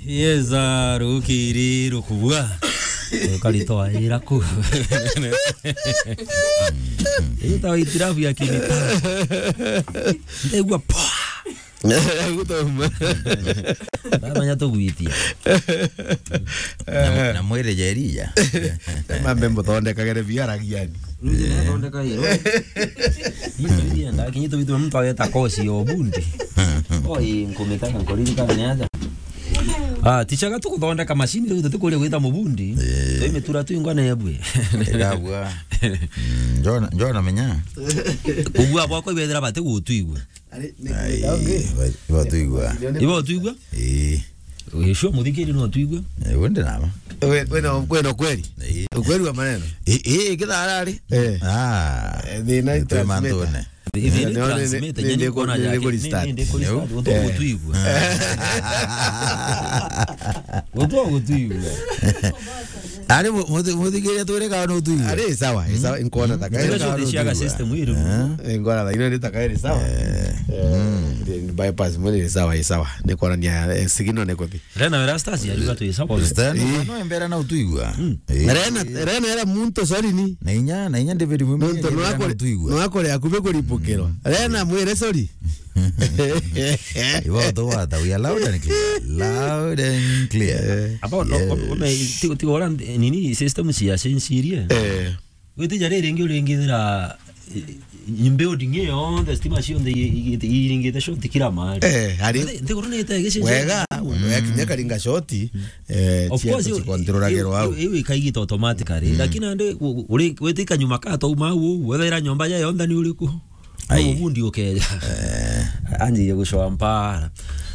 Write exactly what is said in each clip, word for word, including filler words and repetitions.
Yeza rukiri rukubua. Ukaritwa ira ku. Ita itirafu ya kinita. Ndegua poa. Gutoma. Baba nya tugwitia. Na, na mwire jeria. Mambe muthondekagere biaragiani. Ruthi na thondeka iro. Ito iria ndakinyito bitu mtu ageta kosi yo bundi. Oi, nkumita nkuririkana ni aja. Ah, tichaga tukuthondeka machine riu tutikuria gwita mubundi. Eh. Twi mitura twingwa na ebwe. Ndabua. Mm, njona, njona menya. Kugua bwakwa ibethira bati gutwigua. Ari, ni Ai, kwenda ungi. Ba-, batwigua. Ibo twigua? Eh. Wisho muthikiri no twigua. Eh, wende nama. We, we no, we no kweli? Eh. Ukweli wa maneno? Eh, eh, kithara ari. Eh. Ah. Eh, thina ni twe transmitter. Mantune. Ithiri ni, ni, transmit, ni, nyeni ni, kona ni, ni yake, kuri ni, start. Ni, ni kuri start. Utu gutwigua. Utu gutwigua. Ari mu-, muthi-, muthikiria twire kana no twigua. Ari sawa, sawa, inkuona taka. Special iri ciaga system iri. Eh, inkuona thaa ino iri taka iri sawa. Eh, bypass mwene iri sawa, iri sawa. Ni kuonania, eh, signal ni kuthi. Rena Erastus ya yuga tu sawa. Stand, eh, no embera na utwigua. Eh. Rena, Rena era muntu, sorry ni. Na inya, na inya David Mwimbi muntu no akore, no akore akube kuripokero. Rena mwire sorry. Ibo tu wata, we are loud and clear. Loud and clear. Eh. Abo no, yes. Ome, tigo, tigo ora nini system cia censirie. Eh. Witija riri ringi uringithira, eh, building iyo yonthe, stima cionthe i-, i-, iringite short kila mahali. Eh, ari nthi-, nthiguru ni itegishe wega, mm, wekinya karinga short, eh, of course, cikontrolagirwa au. Iu ikaigita automatically. Mm. Lakini ande u-, u-, uri-, witika nyuma ka twauma au, wethira nyomba ya yonthe ni uriku? Ai. Mubundi ukeja. Eh. Anjie gucoa mpara.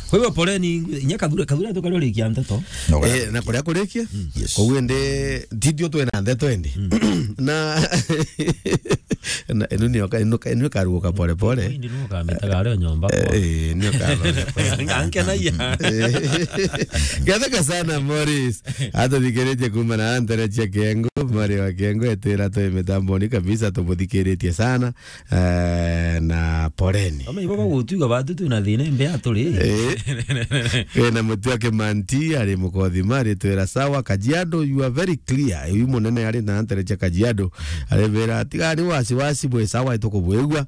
Kwa hivyo poleni, inya Kathura, Kathura tukarorikia nteto. No, eh, na kuria kurikia? Mm. Yes. Koguo ndi, titio twina nteto indi. Mm. Na, na inu nio ka-, inu ka-, inu karuguka pole pole. Indi nio kamitaga ario nyomba kwa. Eh, nio karuguka. Ngankenagia. Eh. Ngathoka sana, Morris. Atuthikiritie kuuma na ntere cia Kengu, Mari wa Kengu, etwira twi mitamboni kabisa, tumuthikiritie sana. Eh, na poleni. Ome ibo bagutwigua batu twina thina imbe aturi. Eh. Wina mutu wa Kimanti, ari Mukothima, ari twira sawa. Kajiado, you are very clear. Uyu munene ari na ntere cia Kajiado, ari bera, tigani wasiwasi, bwe sawa, itukubwigua.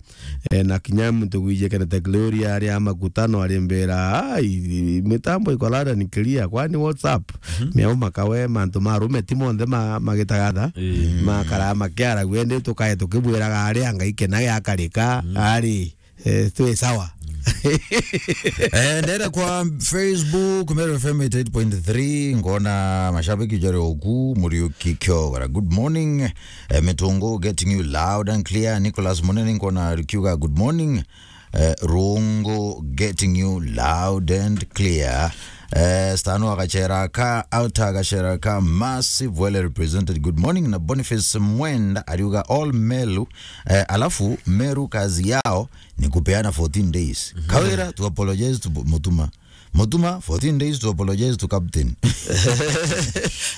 Eh, na kinya muntu gwije Kenneth Gloria, ari a makutano, ari mbera, ai, mitambo iko loud and clear, kwani what's up? Mhm. Miau makawe, mantu ma rume ti monthe ma-, magitagatha, eh, makara makiara, gwende tukae tukibwiraga ari a Ngai kena giakarika, mm, ari, eh, twi sawa. Eh, ndera kwa Facebook, Meru F M eighty-eight point three, ngona mashabiki jari oku, Muriuki Kiogora. Good morning. Eh, Mitungu getting you loud and clear. Nicholas Munene ngona rikiuga good morning. Eh, Rungu getting you loud and clear. Eh, Stano Agachera ka, Outer Agachera ka, massive, well represented. Good morning. Na Boniface Mwenda ariuga all Meru, eh, alafu Meru kazi yao ni kupeana fourteen days. Mhm. Kawira, to apologize to Mutuma. Mutuma, fourteen days to apologize to captain.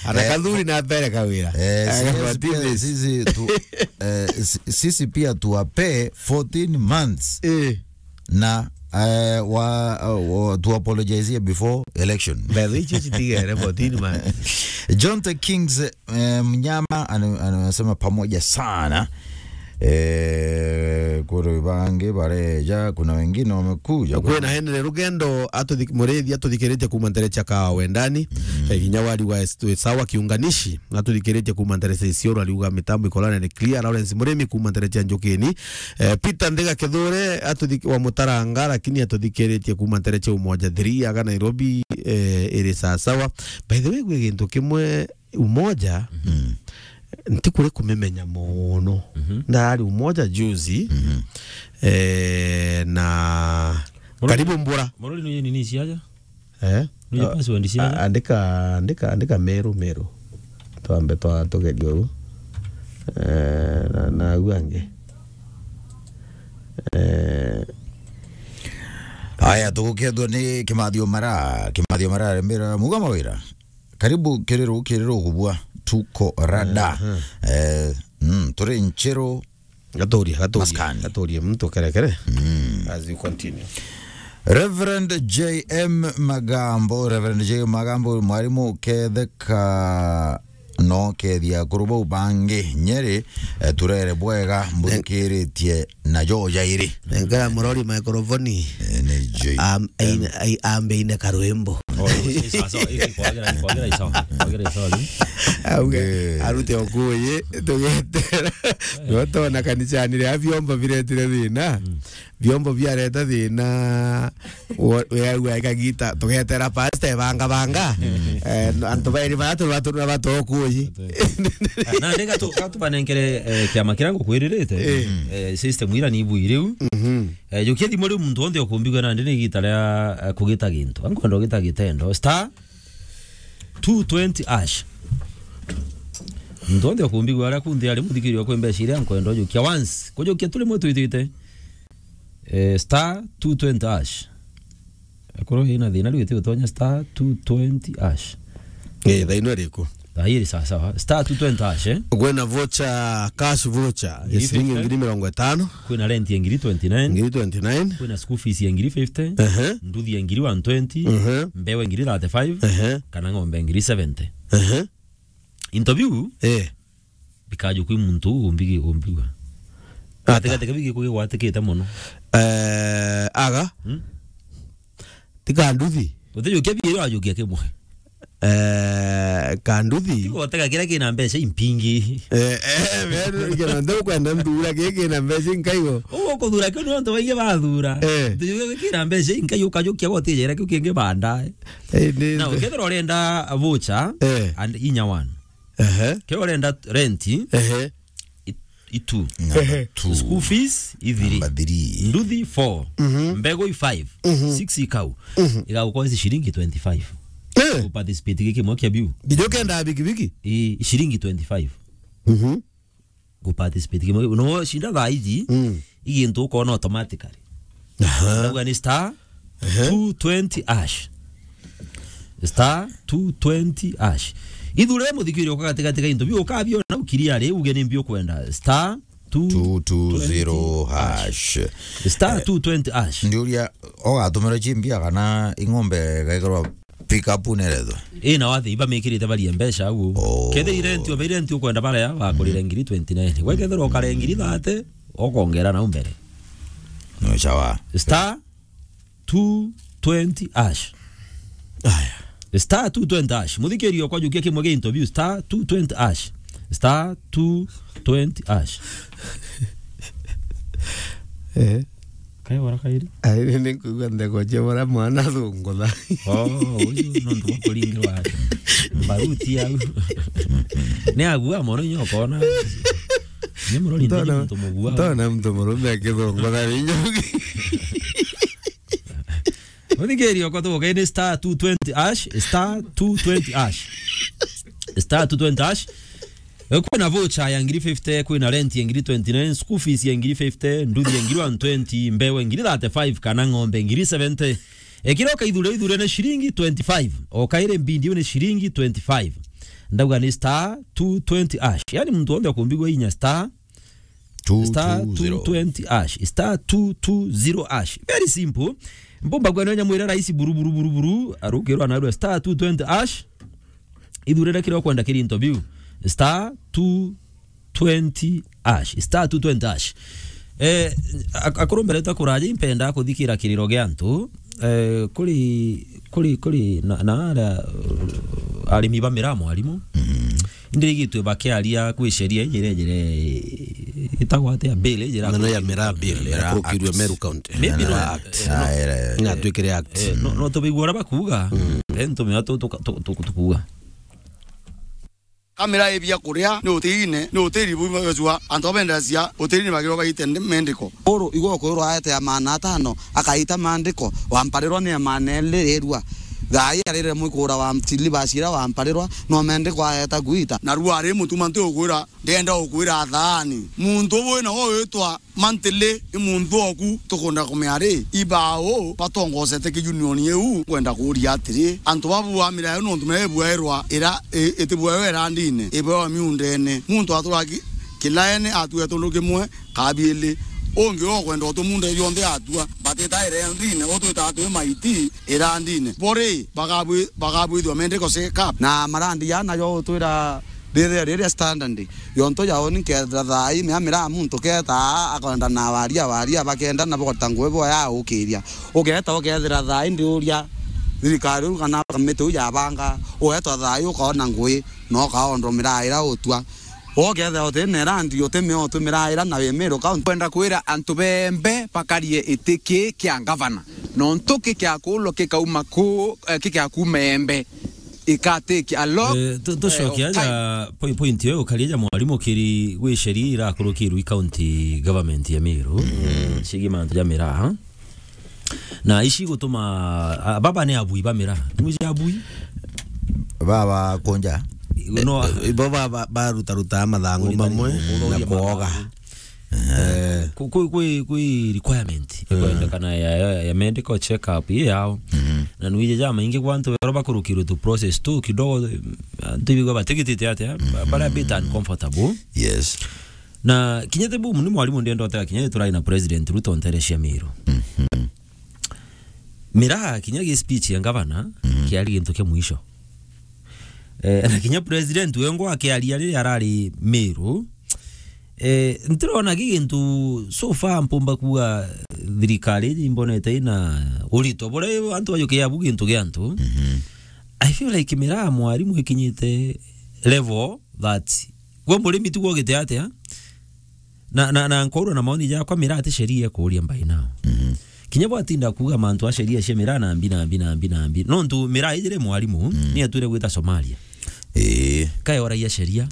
Ana Kathuri na mbere Kawira. Eh, sisi pia, sisi tu, eh, si-, sisi pia tuwape fourteen months. Eh. Na, eh, wa, wa, tu apologize before election. By the way, chichi tigere fourteen months. John the Kings, eh, Mnyama anu-, anasema pamoja sana. Eh, kuri bangi bareja, kuna wengine wamekuja. Kwina Henry Rugendo atuthi-, murithi atuthikiritie kuuma ntere cia Kawa Wendani. Mm. Eh, kinya wari wa est-, sawa kiunganishi, atuthikiritie kuuma ntere cia Isiolo, ariuga mitambo ikolane ni clear. Lawrence Murimi kuuma ntere cia Njukini. Eh, Peter Ndega Kithure atuthi-, wa Mutaranga, lakini atuthikiritie kuuma ntere cia Umoja three, aga Nairobi, eh, iri sawa sawa. By the way, gwi gintu kimwe Umoja, mm, nti kuri kumimenya mono. Mhm. Ndari Umoja juzi, mhm, eh, na Murori, karibu mbura. Murori ni nini ciaja? Eh? Ni password ciaja? A-, andika, andika, andika Meru, Meru. Twambe twa tugeria uu. Eh, na, na au angi. Eh. Aya, tugukethwa ni Kimathio Mara, Kimathio Mara aremera muga mawira. Karibu Kiriru, Kiriru kubua, tuko rada. Aha. Eh, mm, turi Nchiru. Gaturia, gaturia, maskani. Gaturia mtu kere kere. Mm. As you continue. Reverend J M Magambo, Reverend J M Magambo, mwarimu uketheka no kethia akuru bau bangi Nyeri, eh, turere bwega, mbuthikiritie na jo jairi. Nengera murori microphone. Eh, ni J M. Am-, aine, ai-, ambe aine karwimbo. Oh, i-, i sawa sawa, i-, i kwagera, i kwagera, i sawa, i kwagera, i sawa. Auge, eh, arute okuyi, tugetera. Gotona kanisani ria vyombo biretire thina. Mm. Vyombo biareta thina, we-, weaua ikagita, tugetera pastor ebanga banga. Mm. Eh, no, antu bairi bara turi baturura batokuyi. Na ndega tu, ka tubanenkere, eh, kiama kiria ngukwiririte. Eh. Eh, system ira ni ibui riu. Mhm. Eh, jukia thimu riu muntu wonthe ukumbigua nandi ni igita ria, eh, kugita gintu. Ankwenda ugita gitendo. Star two twenty hash. Muntu wonthe ukumbigua aria kunthe ari muthikiria kwi mbeca iria nkwenda ujukia once. Kujukia turi mwe twitite. Eh, star two twenty hash. Akorwo ina thina riu iti utonya star two twenty hash. Eh, thaa ino iriku? Thaa iri sawa sawa. Star two twenty hash, eh? Kwina voucher, cash voucher, ya ngiri ciringi fifty. Ngiri mirongo itano. Kwina rent ya ngiri twenty nine. Ngiri twenty nine. Kwina school fees ya ngiri fifty. Ehe. Nduthi ya ngiri one twenty. Ehe. Mbewe ngiri thirty-five. Ehe. Kana ng'ombe ngiri seventy. Ehe. Into biu, eh, bikajukia muntu uu umbigi-, umbigua. Ata? Gatigati ka bigi kugigwatikite mono. Eh, aga? Hmm? Ti kanduthi? Utijukia biri wajukia kimwe. Eh, kanduthi? Ti gotega kiria kina mbeca impingi. Eh, eh, we, kina ndu kwenda nthura, kiki kina mbeca inkaigo. Uguo kuthura kiu ni antu baingi bathura. Eh. Utijukia kina mbeca inkai ukajukia gotijera kiu kingi baadaye. Eh, ni na ukethira urenda voucher, eh, and inya one. Ehe. Kiria urenda rent, ehe, i-, i two. Number two. School fees, i three. Number three. Nduthi, four. Mhm. Mbegu, i five. Mhm. Six, i kau. Mhm. Igagukoa ici ciringi twenty-five. Eh. Ku participate giki mwe kia biu. Nginya ukenda bikibiki? I, i ciringi twenty-five. Mhm. Ku participate kimwe. No shinda thaa iji, mm, i gintu ukona automatically. Aha. Ndauga ni star, ehe, two twenty hash. Star two twenty hash. Ithurire muthikiri uka gatigati ga into biu ukabiona ukiria ri uge ni mbi ukwenda. Star two twenty hash. Two two zero hash. Star two twenty hash. Ndiuria, ogatumira chimbia kana ing'ombe gaikirwa pick up nerethwa? Ii, na wathi iba mikirite barie mbeca au. Oh. Kethira irenti, obe irenti ukwenda baria bakurire, mhm, ngiri twenty nine. Gwekethira ukare ngiri thirty, okongera nau mbere. No chawa. Star two twenty hash. Aya. Star two twenty hash. Muthikiri okwa jukia kimwe gia interview, star two twenty hash. Star two twenty hash. Eh. Kai wara kairi? Ai, ni, ni nkuigua ntheko cia bara mwana athungutha. Oh, uyu nontu bwa kuringirwa mbaruti au. Ni agua mono inya ukona. Ni murori ndona, ndi muntu mugua. Ndona muntu murume akithungutha ni nyogi. Muthikiri okwa tuboke ni star two twenty hash, star two twenty hash. Star two twenty hash. Eh, kwina voucher ya ngiri fifty, kwina rent ya ngiri twenty nine, school fees ya ngiri fifty, nduthi ya ngiri one twenty, mbewe ngiri thirty-five, kana ng'ombe ngiri seventy. Ekira ukaithure ithure ni ciringi twenty-five. Okaire mbindi ni ciringi twenty-five. Ndauga ni star two twenty hash. Yani muntu wonthe akumbigua inya star, star two twenty hash, star two two zero hash. Very simple. Mbumba gwa nyonya mwira rahisi buru, buru, buru, buru. Arukirwa na star two twenty hash. Ithurire kiria ukwenda kiri into biu. Star two twenty hash. Star two twenty hash. Eh, ak-, akuru mbere ta kuraja impenda kuthikira kiriro gia antu. Eh, kuri, kuri, kuri na, na aria, uh, arimi ba miraa mwarimu. Mm. Ndirigitwe bakiaria kwi sheria iji iria ijire itagwa atia, bill iji ira- Nene ya miraa bill, miraa ya kurukirwe act. Meru County. Maybe miraa no, act. Eh, no. Ah, ere. Na twikire act. Eh, no, no tubigua uria bakuuga. Mm. Then tumenya tu-, tuka-, tu-, tu-, tukuuga. Kamera ibia kuria ni utiriine, ni utiri bumwe gecua, antu abenderacia utiriine bagirwa baite ndi-, mendiko. Uru igwe ukwirwa aete ya maana atano, akaita maandiko, wamparirwa ni ya maana eli rirua. Thaai arire mwikura wa silibasi iria wamparirwa, no mendiko aeta gwita. Narua ari mutuma nti ukwira, ndienda ukwira thaani. Muntu ubu wina wo witwa Mantili ni muntu oku tukunda kumea ri, ibau batongosete ki union iu? Kwenda kuuria atiri, antu babu bamira yo nontu mebuairwa ira i-, itibuairwa irandine, ibuairwa miundene. Muntu atura ki-, kilaene atua tundu kimwe, kabiili. Ungi okwenda utumunda bionthe atua, but Twitaire ndine, utwitaga twi maiti irandine. Bori, bagabwi-, bagabwithua mendiko shake up. Na marandi ya nayo utwira riri, riri standard. Yonto ya uni kethira thaa ii, mea miraa muntu keta, akwenda na waria, waria, bakenda na bogota ngugi boya ukiria. Ugeta ukethira thaa ii ndiuria thirikari uu kana kamiti uu yabanga, ugetwa thaa ii ukaona ngugi, na ukaondwa miraa ira utua. Ugethira uti na irandi, uti mea utu miraa ira na wi Meru County. Kwenda kwira antu bembe bakarie iti ki kia ngavana. Nontu ki kia kuulwa kikauma ku, eh, ki kia kuuma embe. Ikatiki a lot, eh, tu-, tucoke eh, of aja time. Poi-, point iyo ukaria ja mwarimu kiri gwi sheria irakurukirwe i county government ya Meru, mm, ciigi mantu ja miraa. Na ici gutuma, a, baba ni abui ba miraa. Ni mwiji abui? Baba kunja. No. Eh, eh, ibo ba, ba, barutaruta mathangu mamwe na kwoga. Eh. Ku-, ku-, kwi, kwi requirement ikwendekana ya, ya, ya medical check up ii yao. Mhm. Na nwije ja maingi kwa antu bero bakurukirwe tu process tu kidogo, eh, antu ibigwa batigitite atia, ba-, bara bit uncomfortable. Yes. Na kinya ti bumu ni mwarimu ndienda utega kinya turai na President Ruto ntere cia Meru. Mhm. Miraa kinya gi speech ya ngavana, mhm, kiari gintu kia mwisho. Eh, na kinya president wengwa akiaria riria arari Meru, eh, ntirona gi gintu so far mpumba kuga thirikari iji imbonete ina urito buria antu bajukia bu gintu gia antu. Mhm. I feel like miraa mwarimu ikinyite level that gwe murimi tiguo gite atia. Na, na, na nkorwa na maoni jakwa, miraa ti sheria ikuuria by now. Mhm. Kinya bwatinda kuuga mantu a sheria cia miraa na mbi, na mbi, na mbi, na mbi. Nontu miraa ijire mwarimu, mm, ni atwire gwita Somalia. Ii. Kae oragia sheria.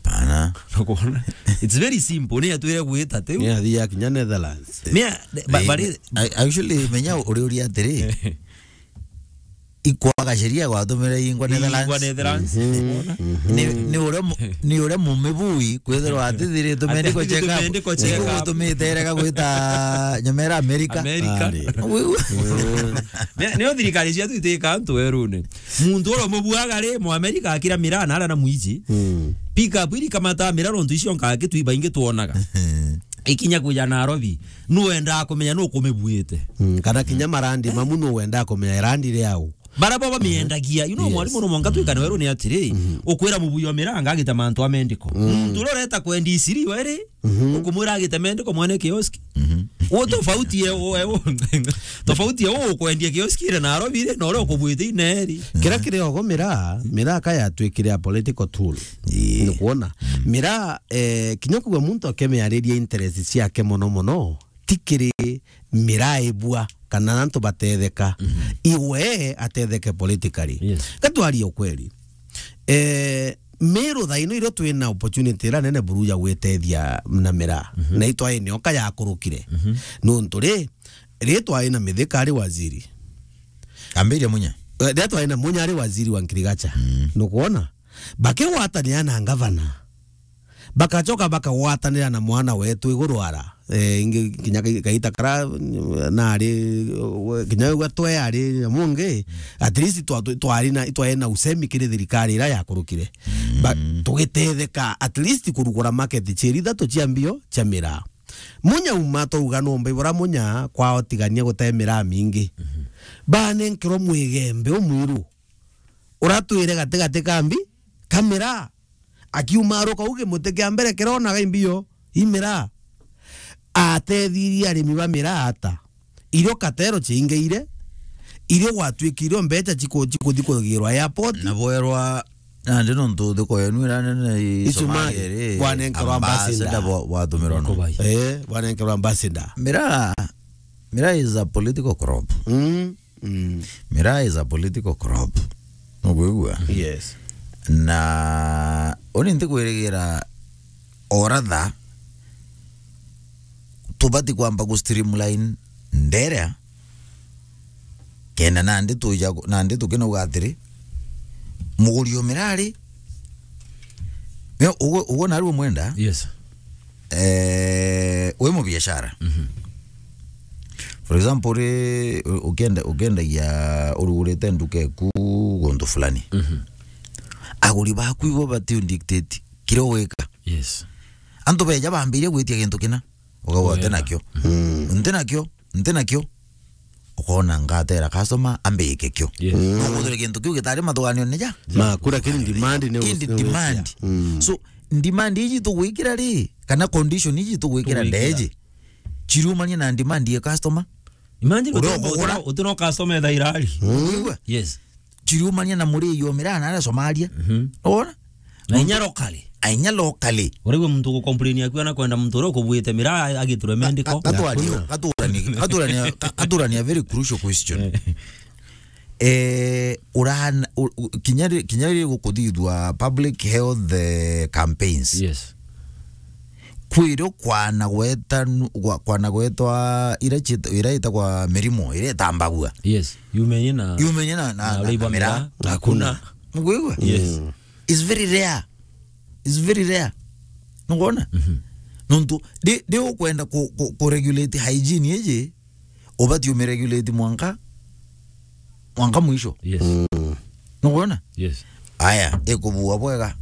Pana. Nukwona? It's very simple. Ni atwire gwita tiu. Ni athia kinya Netherlands. Mea, ba-, ii, bari me-, a-, actually, menya uri uria atiri. Ikwaga sheria gwatumire ingwa Netherlands. Ingwa Netherlands. Mhm. Ni, ni uria mu-, ni uria mumibui kwithirwa atithiritwe medical check up. Atithiritwe medical check up. Nigutumite erega gwita nyomera America. America. Ari. Wiu. Ni, nio thirikari ciatu itikaga antu werune. Muntu uria umubuaga ri, mu America akira miraa na aria na mwiji. Mm. Pick up iri kamata miraa nontu icio nkaa kitu ibaingi twonaga. Ikinya kuja Nairobi, nu wendaa kumenya nu kumibuite. Mm, kana kinya marandi mamu nu wendaa kumenya irandi riau. Bara bo bamiendagia, you know, yes, mwarimu no mwanka twikane weru ni atiri, mhm, ukwira mubui wa miranga agita mantu a mendiko. Mm. Muntu uria ureta kwendia isiri weri, mhm, ukumwira agite mendiko mwene kioski. Mhm. U tofauti ye, u, u, tofauti ye u ukwendia kioski ire Nairobi ri, na uria ukubwite ineri. Kira kiri ogo miraa, miraa ka yatwikire a political tool. Ii. Ni kuona. Mm. Miraa, eh, kinya kugwa muntu akemiariria interest ciake mono mono, ti kiri miraa ibua kana antu batetheka. Mhm. Iwe atetheke politically. Yes. Gatwarie ukweli. Eh, Meru thaa ino irio twina opportunity ira nene buru ya gwitethia na miraa. Mhm. Na itwae nioka yakurukire. Mhm. Nontu ri, ri twae na Mithika ari waziri. Ambiria Munya. Eh, ri twae na Munya ari waziri wa agriculture. Mm. Nukwona? Bakigwatanira na ngavana. Bakacoka bakagwatanira na mwana wetu iguru ara. Eh, ingi kinya kai-, kaita kara, mm, nari, we, kinya we twe ari nyamungi, at least twa-, twa-, twari na, twari na usemi kiri thirikari ira yakurukire. Ba-, mm, tugitetheka at least kurugura market cieri ithatu cia mbio cia miraa. Munya uma twauga nomba ibura Munya kwao tigania gute miraa mingi. Mhm. Banenkerwa mwigembe umwiru. Uratwire gati gati ka mbi, ka miraa. Akiuma aruka u gimuti kia mbere kironaga imbio, i miraa. Atethirie arimi ba miraa ata? Irio katero ciingeire, irio gwatwikire irio mbeca ciku-, cikuthi kugirwa airport. Na bwerwa, nandi nontu thiko yenu ira nene i Somalia ri, bwanenkerwa ambassador. Ambassador bwa-, bwatumirwa no. Kubai. Eh, bwanenkerwa ambassador. Miraa, miraa is a political crop. Mm. Mm. Miraa is a political crop. Nukwigua? Yes. Na uni ntikwirigira oratha tubati kwamba ku streamline nderea kenda nandi tuja, nandi tukinauga atiri, muguri o miraa ri, uguo, uguo nari umwenda? Yes. Eh, wi mubiashara. Mhm. For example, ri, u-, ukenda-, ukendagia urugurite nduka eku guntu fulani. Mhm. Aguri baku ibo bati dictate kiria ugwika. Yes. Antu beja bambiria gwitia gintu kina, ukauga, "Nti nakio." Mm. "Nti nakio." nti nakio, ukona ngatera customer ambike kio. Yes. Mm. No kuthire kintu kiu gitari mathuganio ni ja. Ma, kura kiri demand ni. Indi demand. Mm. So, demand iji tugwikira ri, kana condition iji tugwikira. Tugwikira. Ndeji. Chiriumania na demand ya customer. Imagine uria uti-, ukugura. Uti no, uti no customer thairari. Mm. Wigua? Yes. Chiriumania na murei o miraa na aria Somalia. Mhm. Wona? Na inya locally. Ainya locally. Urigwe muntu gucomplain akiwa na kwenda muntu uria ukubuite miraa agiturwe mendiko. Ga-, gatwari-, gaturani, gaturani, ga-, gaturani a very crucial question. Eh. Eh, urahana, u-, u-, kinya ri-, kinya riri gukuthithua public health, eh, campaigns. Yes. Kwirio kwana gweta nu-, gwa-, kwana gwetwa ira chit-, ira itagwa mirimo, ira itambagua. Yes. Yumenye na, yumenye na, na, na na, uria na ibwa miraa, miraa, hakuna. Hakuna. Nugwigua? Yes. Mm. It's very rare. It's very rare. Nugwona? Mhm. Nontu, ndi, ndi ukwenda ku, ku, ku regulate hygiene iji, ubati umiregulate mwanka, mwanka mwisho. Yes. Mm. Nukwona? Yes. Aya, ikubua bwega,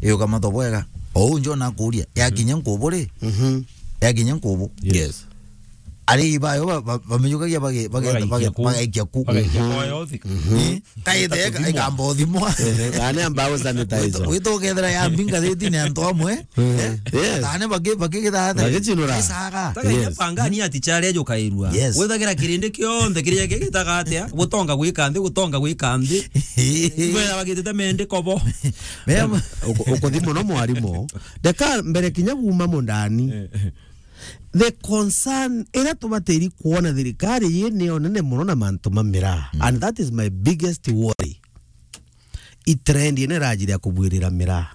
ikukamatwa bwega. Ou njo nakuria, yakinya nkubu ri? Mhm. Yakinya nkubu. Yes. Yes. Ari ibayo ba, ba, bamijukagia bage-, bage-, bagaikia bage-, ku. Bagaikia ku. Bagaikia. Mhm. Kwa yothi. Mhm. Eh? Kaite ika-, ikamba uthimwa. Ehe, ane ambao sanitizer. Wito, wito ukethira ya mbinga thiti ni antu amwe. Eh? Yes. Tane baki-, bakigitha ata? Bagichinura. Isaga. Taka. Yes. Pangani ati chale ajukairua. Yes. Withagira kirindi kionthe kiria kigitaga atia? Gutonga gwika nthi, gutonga gwika nthi. Ibo bagitite mendiko bo. Mem- Uku-, ukuthi muno mwarimu. Ndeka mbere kinya kuuma mundani. Eh. The concern ira tubatiri kuona thirikari yi niyo nene muno na mantu ma miraa. Mm. And that is my biggest worry. I trend ino irajiri ya kubwirira miraa.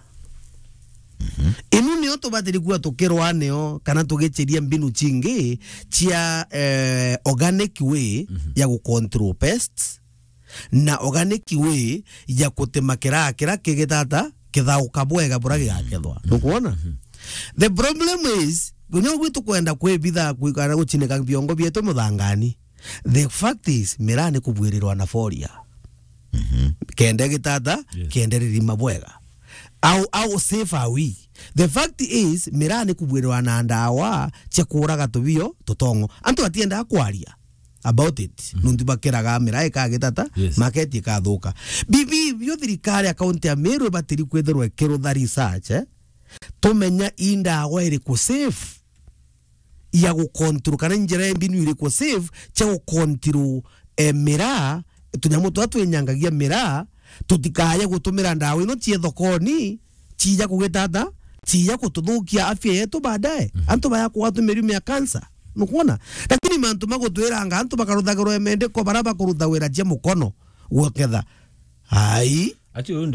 Mhm. Inu niyo tubatiri kuwa tukirwa niyo, kana tugichiria mbinu chingi cia, eh, organic way, mhm, ya gu control pests, na organic way ya kutema kiraa kiria kigitata kithauka bwega buria gigakethwa. Mhm. Nukwona? Mhm. The problem is, kinya ugwi tukwenda kwibitha, kwikara guchinika biongo bietu muthangani. The fact is, miraa ni kubwirirwa na foria. Mhm. Kenda gitata, yes, kenda ririma bwega. How, how safe are we? The fact is, miraa ni kubwirirwa na ndawa cia kuuraga tubio tutongo. Antu batiendaga kwaria about it. Mhm. Nuntu bakiraga miraa ikagitata, yes, market ikathuka. Bibi, bio thirikari ya kaunti ya Meru ibatiri kwithirwa ikirutha research, eh? Tumenya i ndawa iriku safe ya gu control, kana njira imbinu iriku safe cia gu control, eh, miraa, tunyamu turia twinyangagia miraa, tutikaye gutumira ndawa ino cie thokoni, ciija kugitata, ciija gututhukia afya yetu baadaye. Mhm. Antu baya kugwatwa mirimu ya cancer. Nukwona? Lakini mantu ma gutwiranga antu bakaruthagirwa mendiko bara bakurutha wira cia mukono gwoketha. Ai. Ati uyu